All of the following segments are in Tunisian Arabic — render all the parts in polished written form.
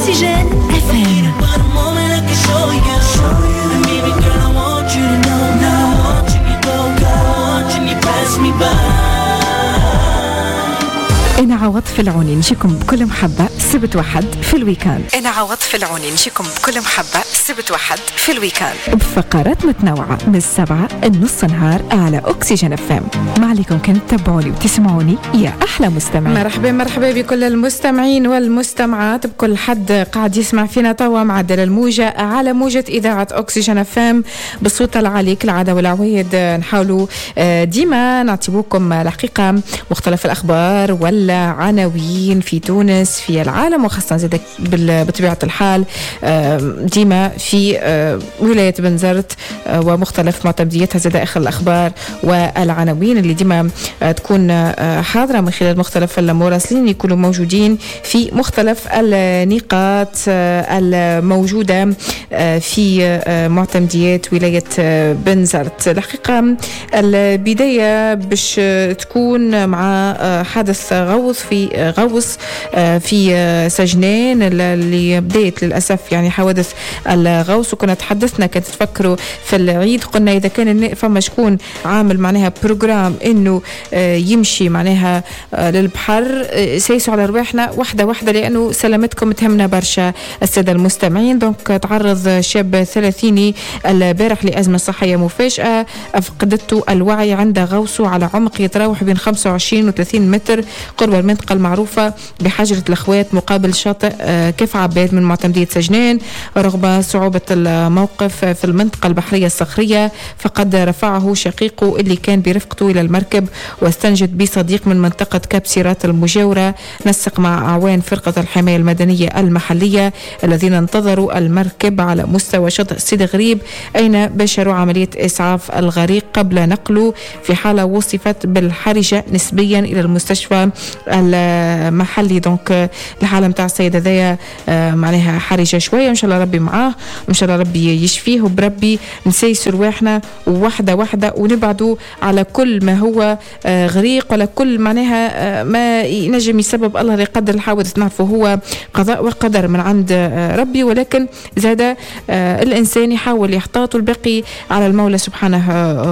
Oxygène FM. أنا عواطف العوني نجيكم بكل محبة سبت وحد في ال week-end. أنا عواطف العوني نجيكم بكل محبة سبت وحد في ال week-end بفقرات متنوعة من 7 النص نهار على أكسجين FM. ما عليكم كان تتبعوني وتسمعوني يا أحلى مستمعين. مرحبا مرحبا بكل المستمعين والمستمعات، بكل حد قاعد يسمع فينا توا معدل الموجة على موجة إذاعة أكسجين FM بالصوت العالي كالعادة والعوايد. نحاولوا ديما نعطيوكم الحقيقة مختلف الأخبار ولا عناوين في تونس في العالم، وخاصة زادك بطبيعة الحال ديما في ولاية بنزرت ومختلف معتمديتها، زاد آخر الأخبار والعناوين اللي ديما تكون حاضرة من خلال مختلف المراسلين يكونوا موجودين في مختلف النقاط الموجودة في معتمديات ولاية بنزرت. الحقيقة البداية باش تكون مع حادث غوص في سجنان اللي بدات للاسف يعني حوادث الغوص، وكنا تحدثنا كانت تفكروا في العيد، قلنا اذا كان فما شكون عامل معناها programme انه يمشي معناها للبحر، سيسوا على رواحنا واحدة واحدة لانه سلامتكم تهمنا برشا السادة المستمعين. donc تعرض شاب 30 البارح لازمه صحية مفاجاة افقدته الوعي عند غوصه على عمق يتراوح بين 25 و 30 متر قرب المنطقة المعروفة بحجرة الأخوات مقابل شاطئ كيف عباد من معتمدية سجنان. رغم صعوبة الموقف في المنطقة البحرية الصخرية فقد رفعه شقيقه اللي كان برفقته إلى المركب واستنجد بصديق من منطقة كابسيرات المجاورة. نسق مع أعوان فرقة الحماية المدنية المحلية الذين انتظروا المركب على مستوى شاطئ سيدي غريب أين باشروا عملية إسعاف الغريق قبل نقله في حالة وصفت بالحرجة نسبيا إلى المستشفى المحلي. donc الحالة نتاع السيد هذايا معناها حرجه شوية، ان شاء الله ربي معاه وان شاء الله ربي يشفيه، وبربي نسيسوا رواحنا واحدة واحدة ونبعدوا على كل ما هو غريق ولا كل معناها ما ينجم يسبب الله لا يقدر الحوادث. نعرفه هو قضاء وقدر من عند ربي، ولكن زاد الانسان يحاول يحتاط والباقي على المولى سبحانه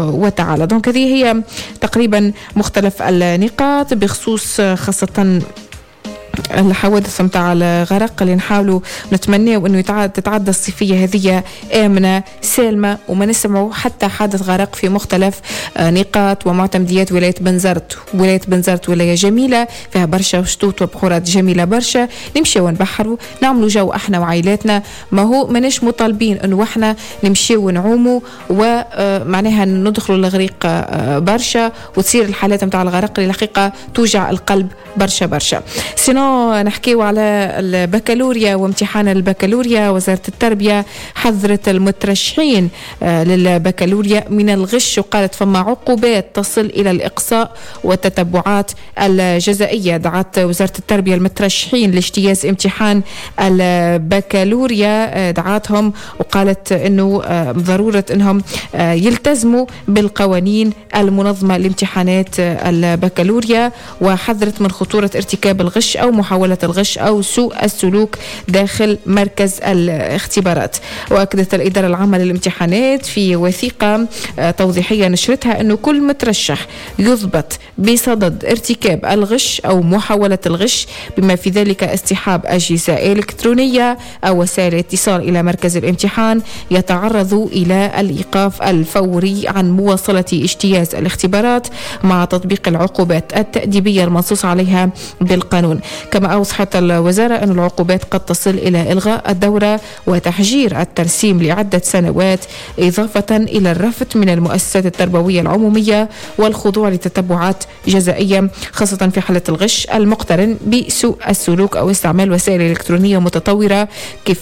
وتعالى. donc هذه هي تقريبا مختلف النقاط بخصوص خاصة الحوادث متاع الغرق اللي نحاولوا نتمناو انه تتعدى الصيفية هذه امنه سالمه وما نسمعوا حتى حادث غرق في مختلف نقاط ومعتمديات ولاية بنزرت. ولاية بنزرت ولاية جميلة فيها برشا شطوط وبحورات جميلة برشا، نمشيو ونبحروا نعملوا جو احنا وعائلاتنا، ما هو ماناش مطالبين انه احنا نمشيو ونعوموا ومعناها ندخلوا الغريق برشا وتصير الحالات متاع الغرق اللي الحقيقة توجع القلب برشا برشا. sinon نحكيو على البكالوريا وامتحان البكالوريا. وزارة التربية حذرت المترشحين للبكالوريا من الغش وقالت فما عقوبات تصل إلى الإقصاء والتتبعات الجزائية. دعت وزارة التربية المترشحين لاجتياز امتحان البكالوريا، دعتهم وقالت أنه ضرورة أنهم يلتزموا بالقوانين المنظمة لامتحانات البكالوريا، وحذرت من خطورة ارتكاب الغش أو محاولة الغش أو سوء السلوك داخل مركز الاختبارات. وأكدت الإدارة العامة للامتحانات في وثيقة توضيحية نشرتها أنه كل مترشح يضبط بصدد ارتكاب الغش أو محاولة الغش بما في ذلك اصطحاب أجهزة إلكترونية أو وسائل اتصال إلى مركز الامتحان يتعرض إلى الإيقاف الفوري عن مواصلة اجتياز الاختبارات مع تطبيق العقوبات التأديبية المنصوص عليها بالقانون. كما أوضحت الوزارة أن العقوبات قد تصل إلى إلغاء الدورة وتحجير الترسيم لعدة سنوات، إضافة إلى الرفض من المؤسسات التربوية العمومية والخضوع لتتبعات جزائية خاصة في حالة الغش المقترن بسوء السلوك أو استعمال وسائل إلكترونية متطورة.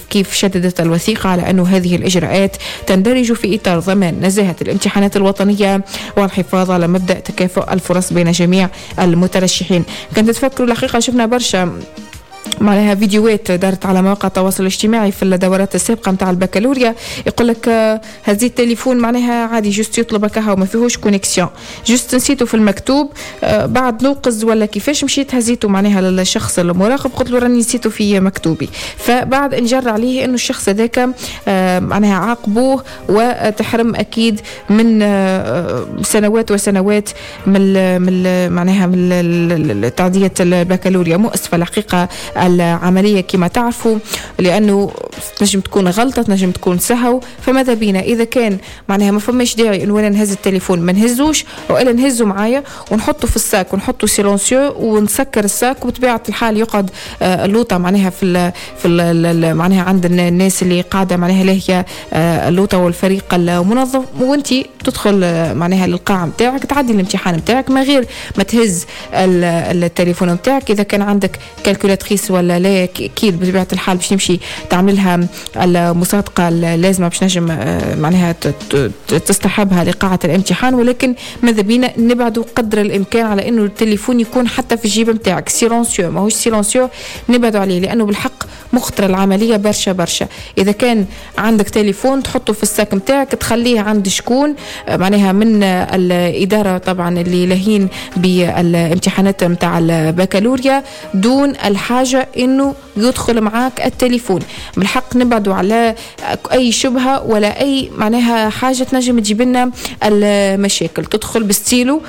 كيف شددت الوثيقة على أن هذه الإجراءات تندرج في إطار ضمان نزاهة الامتحانات الوطنية والحفاظ على مبدأ تكافؤ الفرص بين جميع المترشحين. كنت تفكروا الحقيقة شفنا برشا معناها فيديوهات دارت على مواقع التواصل الاجتماعي في الدورات السابقة نتاع البكالوريا، يقول لك هزيت التليفون معناها عادي juste يطلبك هاو ما فيهوش connexion، juste نسيته في المكتوب، بعد نوقز ولا كيفاش مشيت هزيته معناها للشخص المراقب، قلت له راني نسيته في مكتوبي. فبعد انجر عليه انه الشخص هذاك معناها عاقبوه وتحرم اكيد من سنوات وسنوات من معناها من تعديه البكالوريا. مؤسفة الحقيقة العملية كما تعرفوا، لانه تنجم تكون غلطه، تنجم تكون سهو. فماذا بينا اذا كان معناها ما فماش داعي انه انا نهز التليفون ما نهزوش، والا نهزه معايا ونحطه في ال sac ونحطه silencieux ونسكر ال sac، وبطبيعة الحال يقعد اللوطه معناها في ال معناها عند الناس اللي قاعدة معناها لاهية اللوطه والفريق المنظم، وانت تدخل معناها للقاعه نتاعك تعدي الامتحان نتاعك ما غير ما تهز التليفون نتاعك. اذا كان عندك calculatrice ولا لا، اكيد بطبيعة الحال باش تمشي تعمل لها المصادقة اللازمة باش نجم معناها تصطحبها لقاعه الامتحان. ولكن ماذا بينا نبعدوا قدر الامكان على انه التليفون يكون حتى في الجيب نتاعك silencieux ماهوش silencieux، نبعدوا عليه لانه بالحق مخطره العملية برشا برشا. اذا كان عندك تليفون تحطه في ال sac نتاعك، تخليه عند شكون معناها من الادارة طبعا اللي لاهين بالامتحانات نتاع البكالوريا، دون الحاجة انه يدخل معاك التليفون. بالحق نبعدوا على اي شبهه ولا اي معناها حاجة تنجم تجيب لنا المشاكل. تدخل بستيلو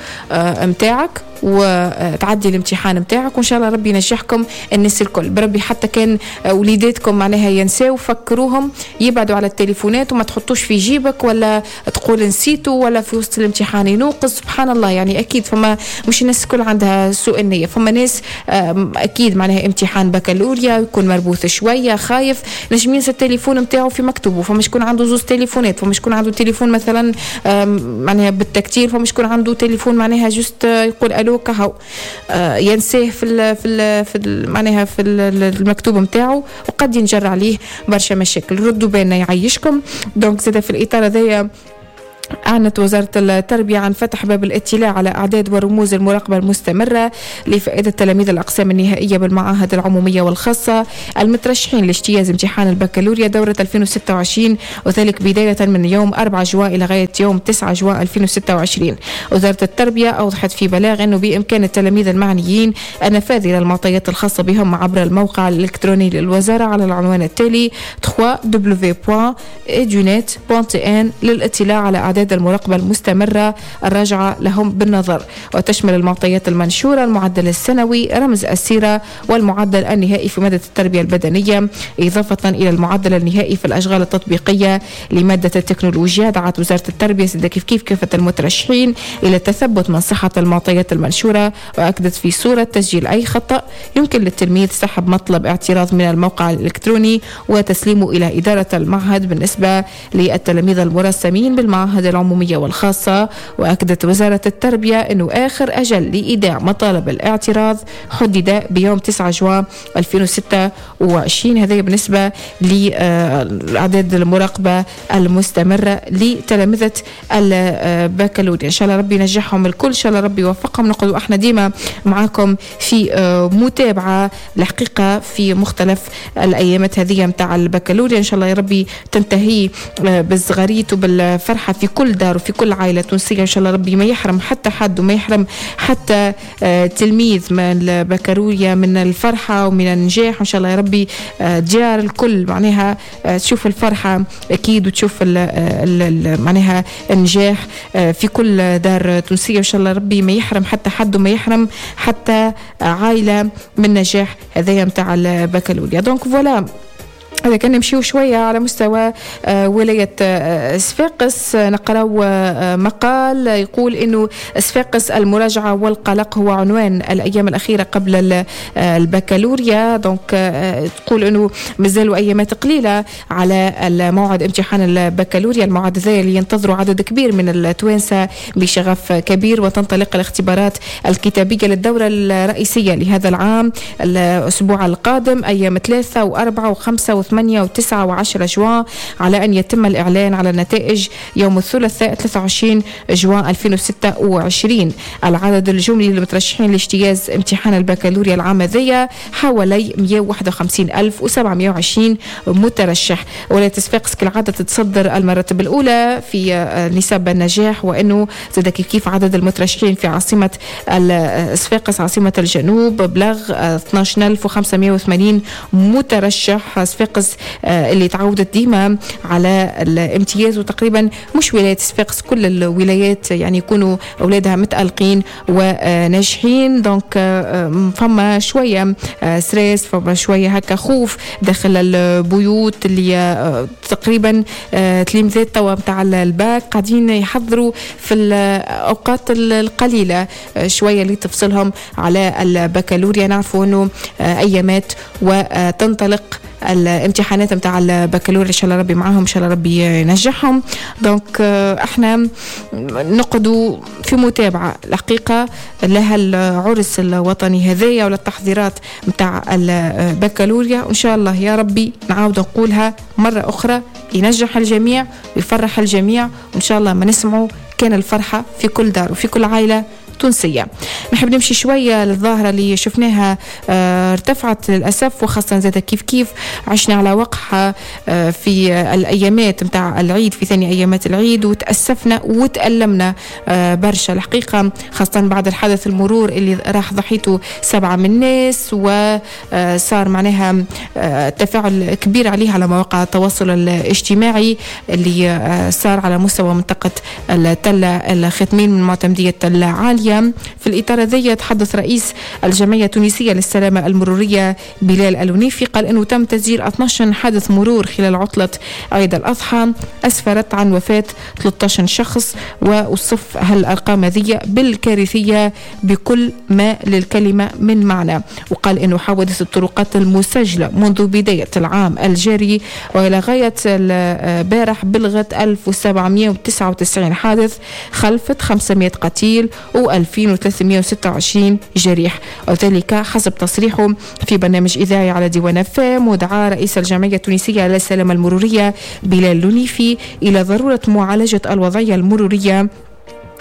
نتاعك وتعدي الامتحان نتاعك، وان شاء الله ربي ينجحكم الناس الكل بربي. حتى كان وليداتكم معناها ينساو، فكروهم يبعدوا على التليفونات وما تحطوش في جيبك ولا تقول نسيته ولا في وسط الامتحان ينوقز. سبحان الله، يعني اكيد فما مش الناس الكل عندها سوء النيه، فما ناس اكيد معناها امتحان بكالوريا يكون مربوث شويه، خايف، نجم ينسى التليفون نتاعو في مكتوبه. فما شكون عنده زوز تليفونات، فما شكون عنده تليفون مثلا معناها بال tactile، فما شكون عنده تليفون معناها juste يقول الو كهو، ينساه في ال معناها في المكتوب نتاعو، وقد ينجر عليه برشا مشاكل. ردوا بالنا يعيشكم. donc زاد في الاطار هذايا أعلنت وزارة التربية عن فتح باب الاطلاع على أعداد ورموز المراقبة المستمرة لفائدة تلاميذ الأقسام النهائية بالمعاهد العمومية والخاصة المترشحين لاجتياز امتحان البكالوريا دورة 2026، وذلك بداية من يوم 4 جوان إلى غاية يوم 9 جوان 2026. وزارة التربية أوضحت في بلاغ أنه بإمكان التلاميذ المعنيين النفاذ إلى المعطيات الخاصة بهم عبر الموقع الإلكتروني للوزارة على العنوان التالي www.edunet.tn للاطلاع على أعداد المراقبة المستمرة الراجعة لهم بالنظر. وتشمل المعطيات المنشورة المعدل السنوي، رمز السيرة، والمعدل النهائي في مادة التربية البدنية، إضافة إلى المعدل النهائي في الأشغال التطبيقية لمادة التكنولوجيا. دعت وزارة التربية زادة كيف كيف كافة المترشحين إلى التثبت من صحة المعطيات المنشورة، وأكدت في صورة تسجيل أي خطأ يمكن للتلميذ سحب مطلب اعتراض من الموقع الإلكتروني وتسليمه إلى إدارة المعهد بالنسبة للتلاميذ المرسمين بالمعاهد العمومية والخاصة. وأكدت وزارة التربية أنه آخر أجل لإيداع مطالب الاعتراض حدد بيوم 9 جوان 2026. هذا بالنسبة لأعداد المراقبة المستمرة لتلامذة البكالوريا. إن شاء الله ربي ينجحهم الكل، إن شاء الله ربي يوفقهم. نقعدوا احنا ديما معاكم في متابعة الحقيقة في مختلف الأيامات هذه متاع البكالوريا. إن شاء الله يا ربي تنتهي بالزغاريت وبالفرحة في كل دار وفي كل عائلة تونسية. إن شاء الله ربي ما يحرم حتى حد وما يحرم حتى تلميذ من البكالوريا من الفرحة ومن النجاح. وإن شاء الله يا ربي ديار الكل معناها تشوف الفرحة أكيد وتشوف ال معناها النجاح في كل دار تونسية. إن شاء الله ربي ما يحرم حتى حد وما يحرم حتى عائلة من نجاح هذايا متاع البكالوريا. donc voilà، هذا كان نمشيو شوية على مستوى ولاية صفاقس، نقراو مقال يقول انه صفاقس المراجعة والقلق هو عنوان الايام الاخيرة قبل البكالوريا. donc تقول انه مازالوا ايامات قليلة على الموعد امتحان البكالوريا، الموعد ذا اللي ينتظروا عدد كبير من التوانسة بشغف كبير. وتنطلق الاختبارات الكتابية للدورة الرئيسية لهذا العام الأسبوع القادم، أيام 3 و4 و5 و8 و8 و9 و10 جوان، على أن يتم الإعلان على النتائج يوم الثلاثاء 23 جوان 2026. العدد الجملي للمترشحين لاجتياز امتحان البكالوريا العام هذيا حوالي 151720 مترشح. ولاية صفاقس كالعادة تتصدر المراتب الأولى في نسب النجاح، وأنه زاد كيف عدد المترشحين في عاصمة صفاقس عاصمة الجنوب بلغ 12580 مترشح. صفاقس اللي تعودت ديما على الامتياز، وتقريبا مش ولاية صفاقس كل الولايات يعني يكونوا أولادها متألقين وناجحين. donc فما شوية stress، فما شوية هكا خوف داخل البيوت اللي تقريبا تلامذات توا نتاع الباك قاعدين يحضروا في الأوقات القليلة شوية اللي تفصلهم على البكالوريا. نعرفوا أنه أيامات وتنطلق الامتحانات نتاع البكالوريا، ان شاء الله ربي معاهم، ان شاء الله ربي ينجحهم. donc احنا نقعدوا في متابعه الحقيقة لها العرس الوطني هذايا ولا التحضيرات نتاع البكالوريا، وان شاء الله يا ربي نعاود نقولها مرة اخرى ينجح الجميع ويفرح الجميع، وان شاء الله ما نسمعوا كان الفرحة في كل دار وفي كل عائلة تونسية. نحب نمشي شوية للظاهرة اللي شفناها ارتفعت للأسف، وخاصة زاد كيف كيف عشنا على وقعها في الأيامات متاع العيد، في ثاني أيامات العيد، وتأسفنا وتألمنا برشا الحقيقة، خاصة بعد الحدث المرور اللي راح ضحيته 7 من الناس، وصار معناها تفاعل كبير عليه على مواقع التواصل الاجتماعي اللي صار على مستوى منطقة التلة الختمين من معتمدية العالية. في الإطار هذا تحدث رئيس الجمعية التونسية للسلامة المرورية بلال الونيفي، قال أنه تم تسجيل 12 حادث مرور خلال عطلة عيد الأضحى أسفرت عن وفاة 13 شخص، ووصف هالأرقام هذه بالكارثية بكل ما للكلمة من معنى. وقال أنه حوادث الطرقات المسجلة منذ بداية العام الجاري وإلى غاية البارح بلغت 1799 حادث، خلفت 500 قتيل و 2326 جريح، وذلك حسب تصريحه في برنامج إذاعي على ديوان فام. ودعا رئيس الجمعية التونسية للسلامة المرورية بلال لونيفي إلى ضرورة معالجة الوضعية المرورية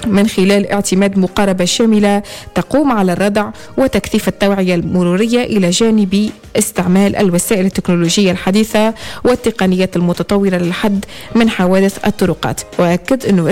من خلال اعتماد مقاربة شاملة تقوم على الردع وتكثيف التوعية المرورية، إلى جانب استعمال الوسائل التكنولوجية الحديثة والتقنيات المتطورة للحد من حوادث الطرقات. وأكد أنه